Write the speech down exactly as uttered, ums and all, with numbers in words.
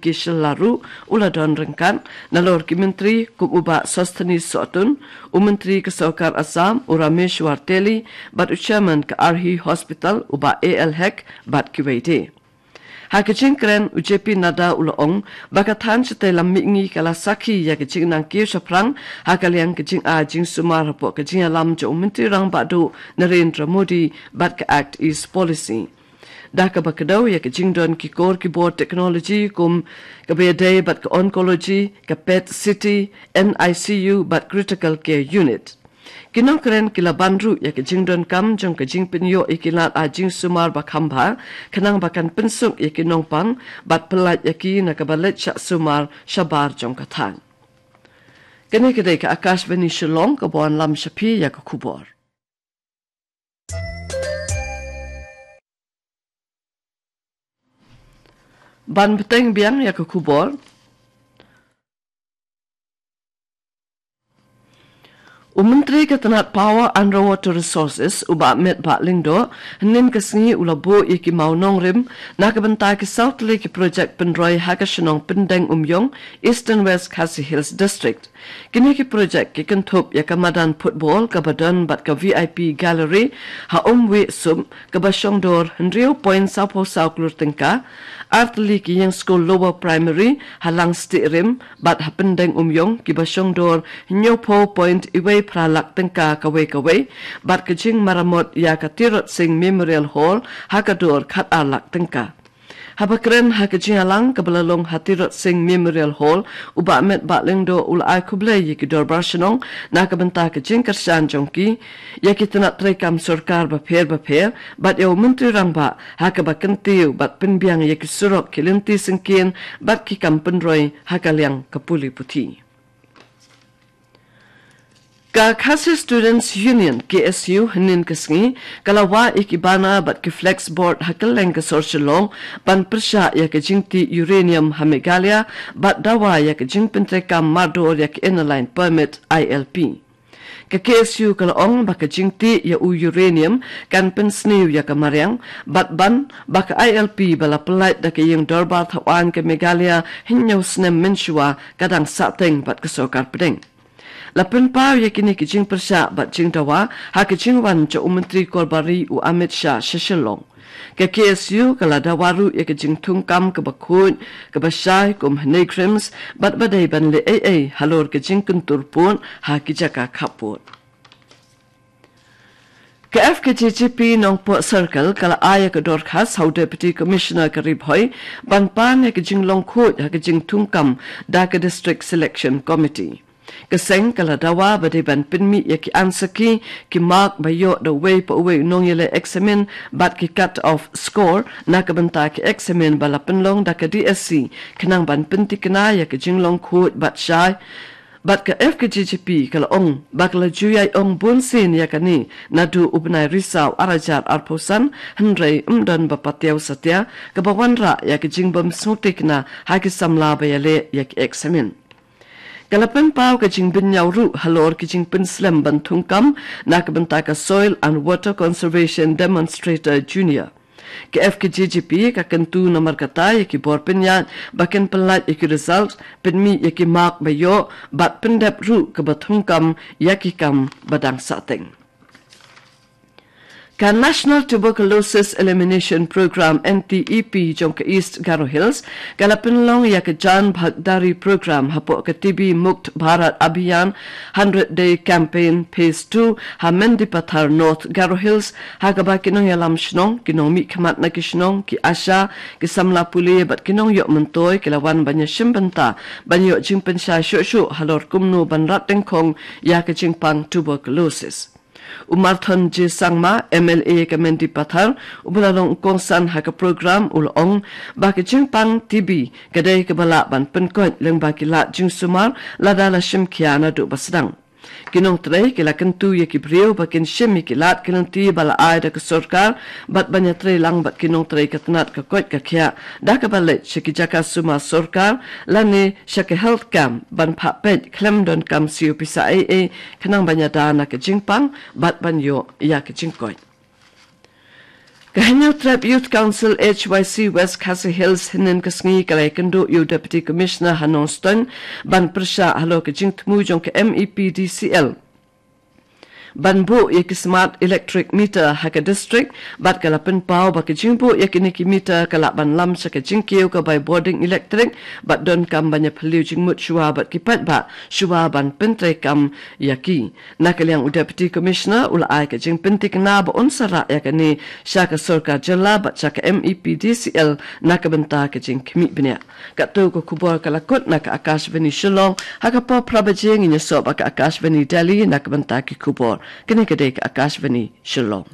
ki shylla ruh u la don ryngkat, nalor ki myntri kum u Bah Sosthenes Sohtun, u myntri ka sorkar Assam u Rameshwar Teli, bad u chairman ka Arhi Hospital u Bah A L Hek bad kiwei de. Ha ka jingkren u J P Nadda u la ong ba ka thaiñ shatei lam mihngi ka la sakhi ïa ka jingnang kiew shaphrang ha ka liang ka jingai jingsumar hapoh ka jingïalam jong u Myntri Rangbah Duh Narendra Modi bad ka Act East Policy. Da kaba kdew ïa ka jingdon ki kor ki bor technology kum kaba ïadei bad ka oncology, ka PET C T, N I C U bad critical care unit. Ki nongkren ki la ban ruh ïa ka jingdonkam jong ka jingpynïoh ïa ki lad ai jingsumar ba kham bha, khnang ba kan pynsuk ïa ki nongpang bad pyllait ïa ki na kaba leit shah sumar shabar jong ka thaiñ. Kane ka dei ka Akashvani Shillong kaba wanlam sha phi ïa ka khubor. Ban bteng biang ïa ka khubor. U Myntri ka tnat Power and Water Resources, u Bah Metbah Lyngdoh, hynnin ka sngi u la buh ïa ki maw nongrim na ka bynta ki saw tylli ki projek pynroi ha ka shnong Pyndengumiong, Eastern West Khasi Hills District. Kine ki projek ki kynthup ïa ka madan football kaba don bad ka V I P gallery ha Umwiehsum kaba shong dor hynriew point saw phew saw klur tyngka, ar tylli ki ïing skul lower primary ha Langstiehrim bad ha Pyndengumiong kiba shong dor hynñiew phew point iwei phra lak tyngka kawei kawei, bad ka jingmaramot ïa ka Tirot Sing Memorial Hall ha ka dor khat ar lak tyngka. Haba kren ha ka jingïalang kaba la long ha Tirot Sing Memorial Hall, u Bah Metbah Lyngdoh u la ai khublei ïa ki dorbar shnong na ka bynta ka jingkyrshan jong ki ïa ki tnat treikam sorkar bapher bapher bad ïa u Myntri Rangbah ha kaba kyntiew bad pynbiang ïa ki surok, ki lynti syngkien bad ki kam pynroi ha ka liang ka pule puthi. Ka Khasi Students Union, K S U, hynnin ka sngi ka la wah ïa ki bana bad ki flex board ha kylleng ka sor Shillong ban pyrshah ïa ka jingtih uranium ha Meghalaya bad dawa ïa ka jingpyntreikam mardor ïa ka Inner Line Permit, I L P. Ka K S U ka la ong ba ka jingtih ïa u uranium kan pynsniew ïa ka mariang bad ban ba ka I L P ba la pyllait da ka ïing dorbar thawaiñ ka Meghalaya hynñiew snem mynshuwa ka dang sahteng bad ka sorkar pdeng. La pynpaw ïa kine ki jingpyrshah bad jingdawa ha ka jingwan jong u Myntri Korbari u Amit Shah sha Shillong. Ka K S U ka la dawa ruh ïa ka jingthungkam kaba khuid kaba shai kum ha NEIGRIHMS bad ba dei ban leh ei ei halor ka jingkyntur pud ha ki jaka khappud. Ka F K J G P Nongpoh Circle ka la ai ïa ka dorkhas ha u Deputy Commissioner ka Ri Bhoi ban pan ïa ka jinglong khuid ha ka jingthungkam da ka District Selection Committee. Ka seng ka la dawa ba dei ban pynmih ïa ki answer key, ki mark ba ïoh da uwei pa uwei u nongïaleh eksamin bad ki cut off score na ka bynta ki eksamin ba la pynlong da ka D S C, khnang ban pynthikna ïa ka jinglong khuid bad shai. Bad ka F K J G P ka la ong ba ka la ju ïai ong bunsien ïa kane naduh u bnai Risaw ar hajar arphew san, hynrei ym don ba patiaw satia kaba wanrah ïa ka jingbym sngewthikna ha ki samla ba ïaleh ïa ki eksamin. Ka la pynpaw ka jingbynñiaw ruh halor ki jingpynslem ban thungkam na ka bynta ka Soil and Water Conservation Demonstrator Junior. Ka F K J G P ka kyntu namar kata ïa ki bor pynïaid ba kin pyllait ïa ki result, pynmih ïa ki mark ba ïoh bad pyndep ruh kaba thungkam ïa ki kam ba dang sahteng. Ka National Tuberculosis Elimination Program, N T E P, jong ka East Garo Hills ka la pynlong ïa ka Jan Bhagdari Program hapoh ka T B Mukt Bharat Abhiyan Hundred Day Campaign Phase two ha Mendipathar, North Garo Hills, ha kaba ki nongïalam shnong, ki nongmihkhmat na ki shnong, ki ASHA, ki samla pule bad ki nongïoh myntoi ki la wan ban ïashim bynta ban ïoh jingpynshai shuh shuh halor kumno ban rat dyngkhong ïa ka jingpang tuberculosis. U Marthon J Sangma, M L A ka Mendipathar, uba la long u kongsan ha ka program, u la ong ba ka jingpang T B ka dei kaba lah ban pynkoit lyngba ki lad jingsumar lada la shim khia naduh ba sdang. Ki nongtrei ki la kyntu ïa ki briew ba kin shim ïa ki lad ki lynti ba la ai da ka sorkar bad ban ïatrei lang bad ki nongtrei ka tnat ka koit ka khiah da kaba leit sha ki jaka sumar sorkar lane sha ka health camp ban phah peit khlem donkam siew pisa ei ei, khnang ban ïada na ka jingpang bad ban ïoh ïa ka jingkoit. Ka Hynñiewtrep Youth Council H Y C West Khasi Hills hynnin ka sngi ka la ïakynduh ïa u Deputy Commissioner ha Nongstoiñ ban pyrshah halor ka jingthmu jong ka M E P D C L ban buh ïa ki smart electric meter ha ka district, bad ka la pynpaw ba ka jingbuh ïa kine ki meter ka lah ban lam sha ka jingkiew ka bai bording electric, bad donkam ban ïa phylliew jingmut shuwa bad ki paidbah shuwa ban pyntreikam ïa ki. Na ka liang u Deputy Commissioner u la ai ka jingpyntikna ba un sa rah ïa kane sha ka sorkar jylla bad sha ka M E P D C L na ka bynta ka jingkhmih bniah. Katto ka khubor ka la kut na ka Akashvani Shillong, ha ka por phra baje ngin ïasoh bad ka Akashvani Delhi na ka bynta ki khubor. Kane ka dei ka Akashvani Shillong.